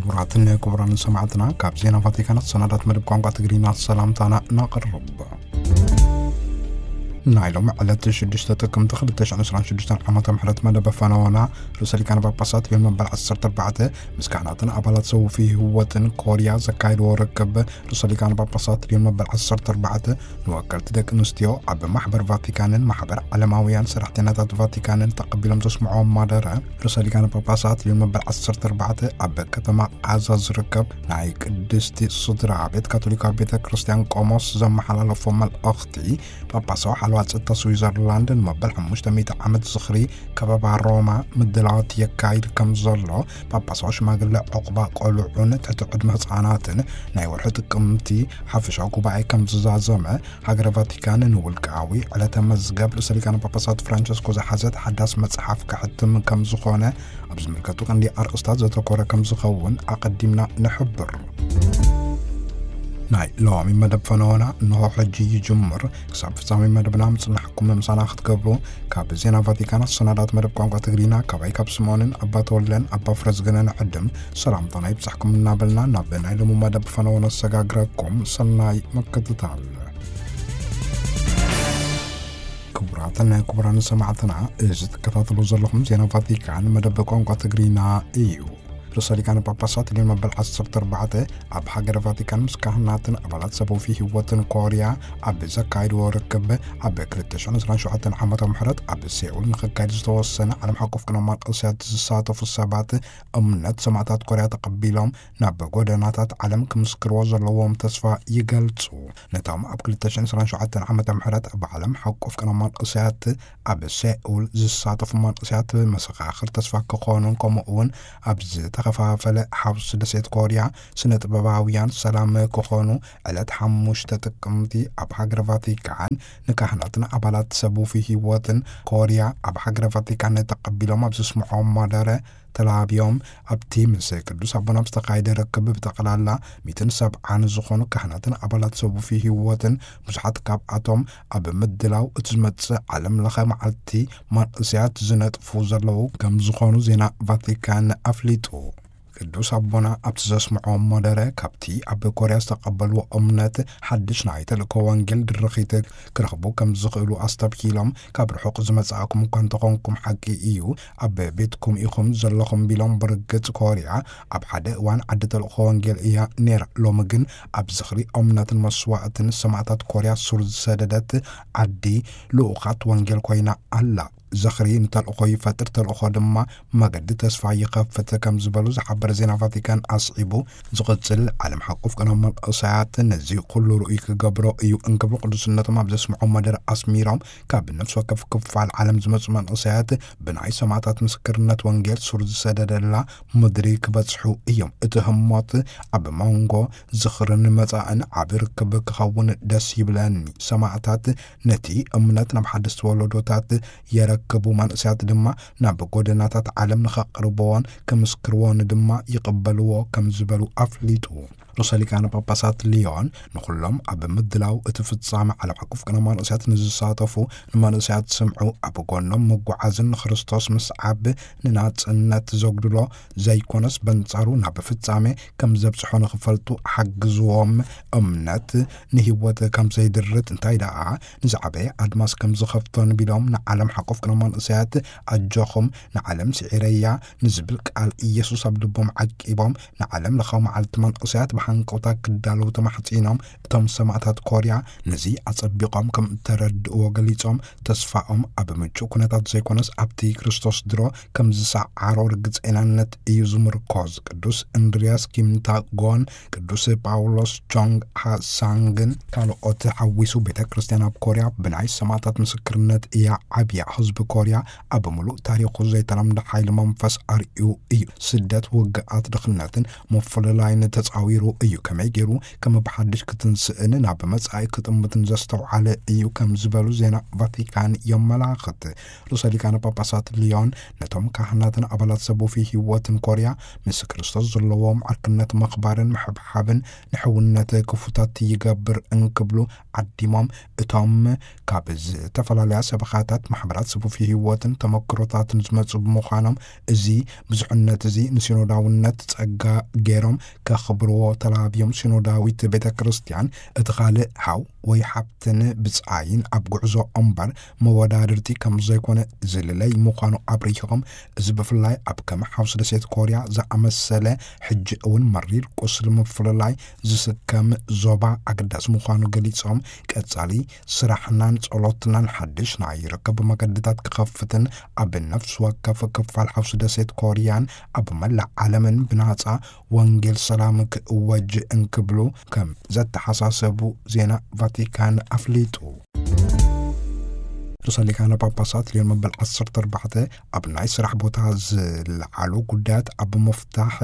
ክቡራትን ክቡራን ሰማዕትና፣ ካብ ዜና ቫቲካን ሰናዳት መደብ ቋንቋ ትግርኛ ሰላምታና እናቕርብ። ናይ ሎም ዕለት ሽዱሽተ ጥቅምቲ ክልተ ሽሕን ዕስራን ሽዱሽተን ዓመተ ምህረት መደብ ፈነወና ርእሰ ሊቃነ ጳጳሳት ሊዮን መበል ዓሰርተ ኣርባዕተ ምስ ካህናትን ኣባላት ሰውፊ ህይወትን ኮርያ ዘካየድዎ ርክብ። ርእሰ ሊቃነ ጳጳሳት ሊዮን መበል ዓሰርተ ኣርባዕተ ንወከልቲ ደቂ ኣንስትዮ ኣብ ማሕበር ቫቲካንን ማሕበር ዓለማውያን ሰራሕተኛታት ቫቲካንን ተቐቢሎም ዘስምዕዎም ማደረ። ርእሰ ሊቃነ ጳጳሳት ሊዮን መበል ዓሰርተ ኣርባዕተ ኣብ ከተማ ቃዛ ዝርከብ ናይ ቅድስቲ ስድራ ቤት ካቶሊካዊ ቤተ ክርስቲያን ቆሞስ ዘመሓላለፎ መልእኽቲ፣ ጳጳሳዊ ሓለዋ ጸጥታ ስዊዘርላንድ ንመበል ሓሙሽተ ሚእቲ ዓመት ዝኽሪ ከበባ ሮማ ምድላዋት የካይድ ከም ዘሎ፣ ጳጳሳዊ ሽማግለ ዕቑባ ቆልዑን ትሕቲ ዕድመ ህጻናትን ናይ ወርሒ ጥቅምቲ ሓፈሻዊ ጉባኤ ከም ዝዛዘመ፣ ሃገረ ቫቲካን ንውልቃዊ ዕለተ መዝገብ ርእሰ ሊቃነ ጳጳሳት ፍራንቸስኮ ዝሓዘት ሓዳስ መጽሓፍ ክሕትም ከም ዝኾነ፣ ኣብ ዝምልከቱ ቀንዲ ኣርእስታት ዘተኮረ ከም ዝኸውን ኣቐዲምና ንሕብር። ናይ ሎሚ መደብ ፈነወና እንሆ ሕጂ ይጅምር። ክሳብ ፍጻሜ መደብና ምጽናሕኩም ምሳና ክትገብሩ ካብ ዜና ቫቲካን ኣሰናዳት መደብ ቋንቋ ትግርኛ ካባይ ካብ ስምኦንን ኣባ ተወልደን ኣባ ፍረዝገነ ንዕድም ሰላምታና ይብጻሕኩም እናበልና ናብ ናይ ሎሚ መደብ ፈነወ ነሰጋግረኩም። ሰናይ ምክትታል። ክቡራትን ክቡራን ሰማዕትና፣ እዚ ትከታተሉ ዘለኹም ዜና ቫቲካን መደብ ቋንቋ ትግርኛ እዩ። ርእሰ ሊቃነ ጳጳሳት ሊዮን መበል ዓሰርተ ኣርባዕተ ኣብ ሃገረ ቫቲካን ምስ ካህናትን ኣባላት ሰብኣዊ ህይወትን ኮርያ ኣብ ዘካየድዎ ርክብ፣ ኣብ ክልተ ሽሕን ዕስራን ሸውዓተን ዓመተ ምህረት ኣብ ሴኡል ንኽካየድ ዝተወሰነ ዓለም ሓቆፍ ቅነ መነኮሳት ዝሳተፉ ሰባት እምነት ሰማዕታት ኮርያ ተቐቢሎም ናብ ጎደናታት ዓለም ክምስክርዎ ዘለዎም ተስፋ ይገልጹ። ነቶም ኣብ ክልተ ሽሕን ዕስራን ሸውዓተን ዓመተ ምህረት ኣብ ዓለም ሓቆፍ ቅነ መነኮሳት ኣብ ሴኡል ዝሳተፉ መነኮሳት መሰኻኽር ተስፋ ክኾኑን፣ ከምኡ እውን ኣብ ዝተኸፋፈለ ሓውስ ደሴት ኮርያ ስነ ጥበባውያን ሰላም ክኾኑ፣ ዕለት ሓሙሽተ ጥቅምቲ ኣብ ሃገረ ቫቲካን ንካህናትን ኣባላት ሰቡፊ ህይወትን ኮርያ ኣብ ሃገረ ቫቲካን ተቐቢሎም ኣብ ዘስምዖም ማደረ ተላብዮም። ኣብቲ ምስ ቅዱስ ኣቦና ኣብ ዝተኻየደ ርክብ ብጠቕላላ ሚእትን ሰብዓን ዝኾኑ ካህናትን ኣባላት ሰቡፊ ህይወትን፣ ብዙሓት ካብኣቶም ኣብ ምድላው እቲ ዝመጽእ ዓለም ለኸ መዓልቲ መንእሰያት ዝነጥፉ ዘለዉ ከም ዝኾኑ ዜና ቫቲካን ኣፍሊጡ። ቅዱስ ኣቦና ኣብቲ ዘስምዖ መደረ፣ ካብቲ ኣብ ኮርያ ዝተቐበልዎ እምነት ሓድሽ ናይ ተልእኮ ወንጌል ድርኺት ክረኽቡ ከም ዝኽእሉ ኣስተብሂሎም፣ ካብ ርሑቕ ዝመጻእኩም እኳ እንተኾንኩም፣ ሓቂ እዩ፣ ኣብ ቤትኩም ኢኹም ዘለኹም ቢሎም፣ ብርግጽ ኮርያ ኣብ ሓደ እዋን ዓዲ ተልእኮ ወንጌል እያ ነይራ። ሎሚ ግን ኣብ ዝኽሪ እምነትን መስዋእትን ሰማእታት ኮርያ ሱር ዝሰደደት ዓዲ ልኡኻት ወንጌል ኮይና ኣላ። ዝኽሪ ንተልእኾ ይፈጥር፣ ተልእኾ ድማ መገዲ ተስፋ ይኸፍት ከም ዝበሉ ዝሓበረ ዜና ቫቲካን ኣስዒቡ፣ ዝቕጽል ዓለም ሓቆፍ ቅነ መንእሰያት ነዚ ኩሉ ርኡይ ክገብሮ እዩ እንክብሉ ቅዱስነቶም ኣብ ዘስምዖ መደረ ኣስሚሮም፣ ካብ ነፍሲ ወከፍ ክፋል ዓለም ዝመጹ መንእሰያት ብናይ ሰማእታት ምስክርነት ወንጌል ሱር ዝሰደደላ ምድሪ ክበጽሑ እዮም። እቲ ህሞት ኣብ መንጎ ዝኽርን መጻእን ዓቢ ርክብ ክኸውን ደስ ይብለኒ። ሰማእታት ነቲ እምነት ናብ ሓደስቲ ወለዶታት የረክቡ፣ መንእሰያት ድማ ናብ ጎደናታት ዓለም ንኸቕርብዎን ክምስክርዎን ድማ ይቕበልዎ ከም ዝበሉ ኣፍሊጡ። ርእሰ ሊቃነ ጳጳሳት ሊዮን ንኹሎም ኣብ ምድላው እቲ ፍጻመ ዓለም ሓቆፍ ቅነ መንእሰያት ንዝሳተፉ፣ ንመንእሰያት ስምዑ፣ ኣብ ጎኖም ምጉዓዝን ንክርስቶስ ምስዓብ ንናጽነት ዘጉድሎ ዘይኮነስ፣ በንጻሩ ናብ ፍጻሜ ከም ዘብጽሖ ንኽፈልጡ ሓግዝዎም። እምነት ንህይወት ከም ዘይድርት፣ እንታይ ደኣ ንዝዓበየ ኣድማስ ከም ዝኸፍቶን ቢሎም፣ ንዓለም ሓቆፍ ቅነ መንእሰያት ኣጆኹም፣ ንዓለም ስዒረያ ንዝብል ቃል ኢየሱስ ኣብ ልቦም ዓቂቦም፣ ንዓለም ለኻዊ መዓልቲ መንእሰያት ብሃንቀውታ ክዳለዉ ተማሕጺኖም። እቶም ሰማእታት ኮርያ ነዚ ኣጸቢቖም ከም እተረድእዎ ገሊጾም፣ ተስፋኦም ኣብ ምቹእ ኩነታት ዘይኮነስ ኣብቲ ክርስቶስ ድሮ ከም ዝሰዓሮ ርግጸይናነት እዩ ዝምርኮዝ። ቅዱስ እንድርያስ ኪምታጎን ቅዱስ ጳውሎስ ቾንግ ሃሳንግን ካልኦት ሓዊሱ፣ ቤተ ክርስቲያን ኣብ ኮርያ ብናይ ሰማእታት ምስክርነት እያ ዓብያ። ህዝቢ ኮርያ ኣብ ምሉእ ታሪኹ ዘይተለምደ ሓይሊ መንፈስ ኣርእዩ እዩ። ስደት፣ ውግኣት፣ ድኽነትን ምፍልላይን ተጻዊሩ እዩ። ከመይ ገይሩ ከም ብሓድሽ ክትንስእን ናብ መጻኢ ክጥምትን ዘስተውዓለ እዩ ከም ዝበሉ ዜና ቫቲካን የመላኽት። ርእሰ ሊቃነ ጳጳሳት ሊዮን ነቶም ካህናትን ኣባላት ሰቡፊ ህይወትን ኮርያ ምስ ክርስቶስ ዘለዎም ዕርክነት ምኽባርን ምሕብሓብን ንሕውነት ክፉታት ይገብር እንክብሉ ዓዲሞም፣ እቶም ካብ ዝተፈላለያ ሰበኻታት፣ ማሕበራት፣ ስቡፊ ህይወትን ተመክሮታትን ዝመጹ ብምዃኖም፣ እዚ ብዙሕነት እዚ ንሲኖዳውነት ጸጋ ገይሮም ከኽብርዎ ተላብዮም። ሲኖዳዊት ቤተ ክርስቲያን እቲ ካልእ ሓው ወይ ሓብትን ብጻይን ኣብ ጉዕዞ እምበር መወዳድርቲ ከም ዘይኮነ ዝልለይ ምዃኑ ኣብሪሆም፣ እዚ ብፍላይ ኣብ ከም ሓውሲ ደሴት ኮርያ ዝኣመሰለ ሕጂ እውን መሪር ቁስሊ ምፍልላይ ዝስከም ዞባ ኣገዳሲ ምዃኑ ገሊጾም፣ ቀጻሊ ስራሕናን ጸሎትናን ሓድሽ ናይ ርክብ መገድታት ክኸፍትን ኣብ ነፍሲ ወከፍ ክፋል ሓውሲ ደሴት ኮርያን ኣብ መላእ ዓለምን ብናጻ ወንጌል ሰላም ክእወጅ እንክብሉ ከም ዘተሓሳሰቡ ዜና ቫቲካን ኣፍሊጡ። ርእሰ ሊቃነ ጳጳሳት ሊዮን መበል ዓሰርተ ኣርባዕተ ኣብ ናይ ስራሕ ቦታ ዝለዓሉ ጉዳያት ኣብ ምፍታሕ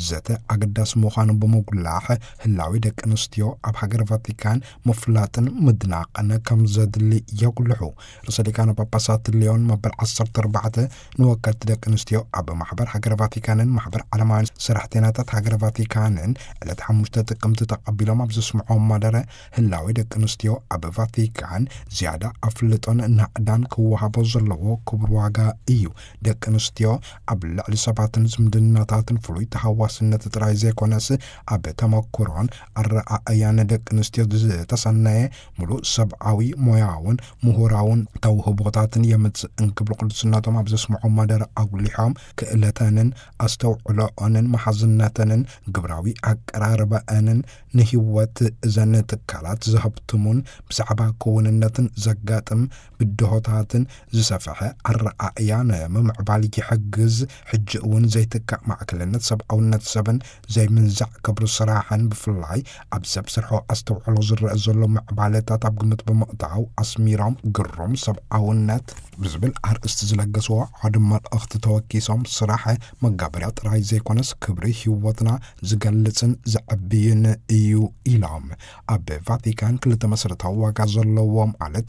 ዘተ ኣገዳሲ ምዃኑ ብምጉላሕ፣ ህላዊ ደቂ ኣንስትዮ ኣብ ሃገር ቫቲካን ምፍላጥን ምድናቕን ከም ዘድሊ የጉልሑ። ርእሰ ሊቃነ ጳጳሳት ሊዮን መበል ዓሰርተ ኣርባዕተ ንወከልቲ ደቂ ኣንስትዮ ኣብ ማሕበር ሃገር ቫቲካንን ማሕበር ዓለማውያን ሰራሕተኛታት ሃገር ቫቲካንን ዕለት ሓሙሽተ ጥቅምቲ ተቐቢሎም ኣብ ዘስምዖም መደረ፣ ህላዊ ደቂ ኣንስትዮ ኣብ ቫቲካን ዝያዳ ኣፍልጦን ናእዳን ክወሃቦ ዘለዎ ክቡር ዋጋ እዩ። ደቂ ኣንስትዮ ኣብ ልዕሊ ሰባትን ዝምድናታትን ፍሉይ ተሃዋስነት ጥራይ ዘይኮነስ፣ ኣብ ተመኩሮን ኣረኣእያን ደቂ ኣንስትዮ ዝተሰነየ ምሉእ ሰብኣዊ፣ ሞያውን ምሁራውን ተውህቦታትን የምጽእ እንክብሉ ቅዱስነቶም ኣብ ዘስምዖ መደረ ኣጉሊሖም፣ ክእለተንን ኣስተውዕሎኦንን መሓዝነተንን ግብራዊ ኣቀራርባኣንን ንህይወት እዘን ትካላት ዘህብትሙን ብዛዕባ ክውንነትን ዘጋጥም ብድሆታትን ዝሰፍሐ ኣረኣእያ ንምምዕባል ይሕግዝ። ሕጂ እውን ዘይትካእ ማዕከልነት ሰብኣውነት ሰብን ዘይምንዛዕ ክብሪ ስራሕን፣ ብፍላይ ኣብ ሰብ ስርሖ ኣስተውዕሎ ዝረአ ዘሎ ምዕባለታት ኣብ ግምት ብምእታው ኣስሚሮም፣ ግሩም ሰብኣውነት ብዝብል ኣርእስቲ ዝለገስዎ ሓደ መልእኽቲ ተወኪሶም፣ ስራሕ መጋበርያ ጥራይ ዘይኮነስ ክብሪ ህይወትና ዝገልጽን ዘዕብይን እዩ ኢሎም። ኣብ ቫቲካን ክልተ መሰረታዊ ዋጋ ዘለዎ፣ ማለት